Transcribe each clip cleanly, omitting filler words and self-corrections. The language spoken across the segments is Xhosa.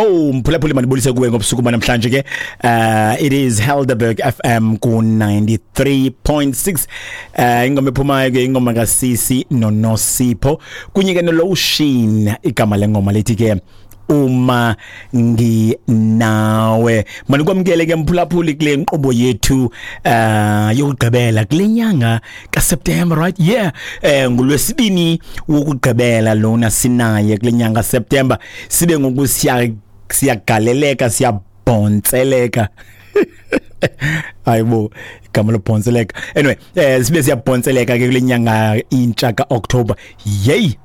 Oh, mphulaphuli, mandibulise kuwe ngobusuku banamhlanje ke. It is Helderberg FM ku 93.6. Ingoma ephumayo ke ingoma kaSisi noNosipho kunye ke noLotion. Igama lengoma lithi ke "Uma Nginawe". Manikwamkele ke, mphulaphuli, kule nkqubo yethu yokugqibela kule nyanga kaSeptember, right? Yeah, ngolwesibini wokugqibela lona sinaye kule nyanga September. Sibe ngoku siya siyagaleleka, siyabhontseleka. Hayibo, igama lobhontseleka. Anyway, sibe siyabhontseleka ke kule nyanga intsha kaOctober. Yey,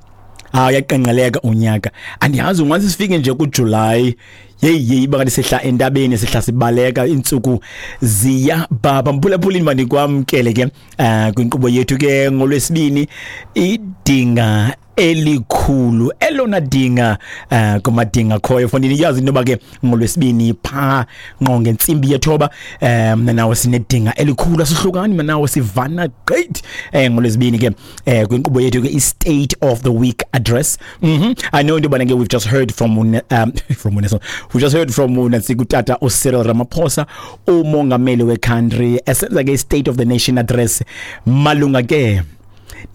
hayi, uyaqenqeleka unyaka. Andiyazi, ungathi sifike nje kuJuly, yeyi yeyi, bangathi sehla entabeni, sehla sibaleka, iintsuku ziya baba. Mphulaphulini, mandikwamkele ke kwinkqubo yethu ke ngolwesibini, idinga elikhulu, elona dinga kumadinga khoyo fondini. Yazi into yoba ke ngolwesibini phaa ngqo ngentsimbi yethoba, mna nawe sinedinga elikhulu, asihlukani, mna nawe sivana gqithi ngolwesibini ke kwinkqubo yethu ke, i-State of the Week Address. I know into yobana ke we've just heard from uNelson, we just heard from unantsika utata uCyril Ramaphosa, umongameli we-country, esenza ke i-State of the Nation Address malunga ke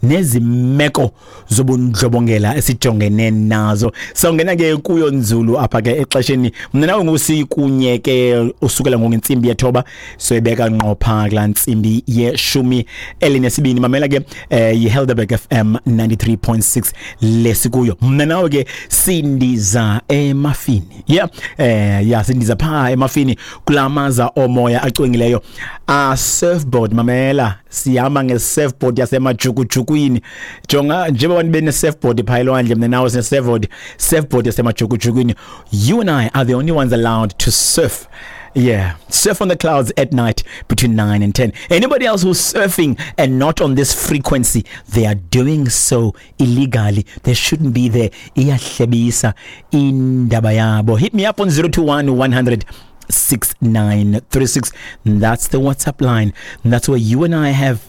nezimeko zobundlobongela esijongene nazo. Sawungena ke kuyo nzulu apha ke exesheni. Mna nawe ngusikunye ke usukela ngentsimbi yethoba, soyibeka ngqo phaa kulaa ntsimbi yeshumi elinesibini. Mamela ke, yiHelderberg FM 93.6 lesikuyo. Mna nawe ke sindiza emafini, yeah, yeah, sindiza phaa emafini kulaa maza omoya acwengileyo a surfboard. Mamela, sihamba nge-surfboard yasemajukujukwini. Jonga, njengoba abantu bene-surfboard phaa elwandle, mna nawe sine-surfboard, surfboard yasemajukujukwini. You and I are the only ones allowed to surf. Yeah, surf on the clouds at night between 9 and 10. Anybody else who's surfing and not on this frequency, they are doing so illegally. They shouldn't be there. Iyahlebisa indaba yabo. Hit me up on 021 100 6936. That's the WhatsApp line. That's where you and I have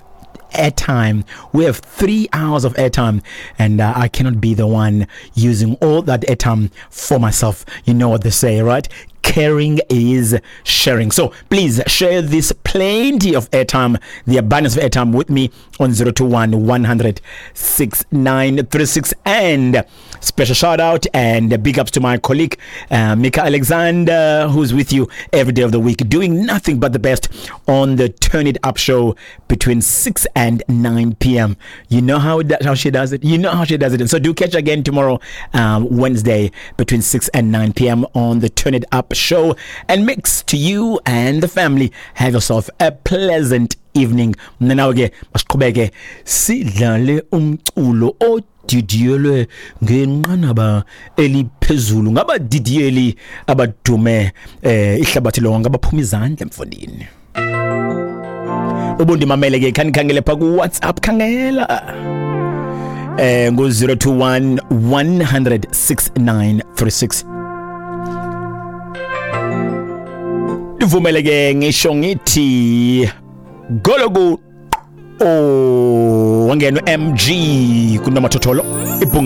airtime. We have 3 hours of airtime, and I cannot be the one using all that airtime for myself. You know what they say, right? Caring is sharing. So please share this plenty of airtime, the abundance of airtime, with me on 021 100 6936. And special shout out and big ups to my colleague, Mika Alexander, who's with you every day of the week, doing nothing but the best on the Turn It Up show between 6 and 9 p.m. You know how she does it. You know how she does it. And so do catch again tomorrow, Wednesday, between 6 and 9 p.m. on the Turn It Up show and mix to you and the family. Have yourself a pleasant evening. Mna nawe ke masiqhubeke sidlale umculo odidiyelwe ngenqanaba eliphezulu ngabadidiyeli abadume ihlabathi lonke, abaphuma izandla mfondini. Ubundimamele ke, khanikhangele pha ku WhatsApp, khangela ngu 021 100 6936. Ndivumele ke ngisho ngithi goloku, oh, wangena MG kunomathotholo ibhunga.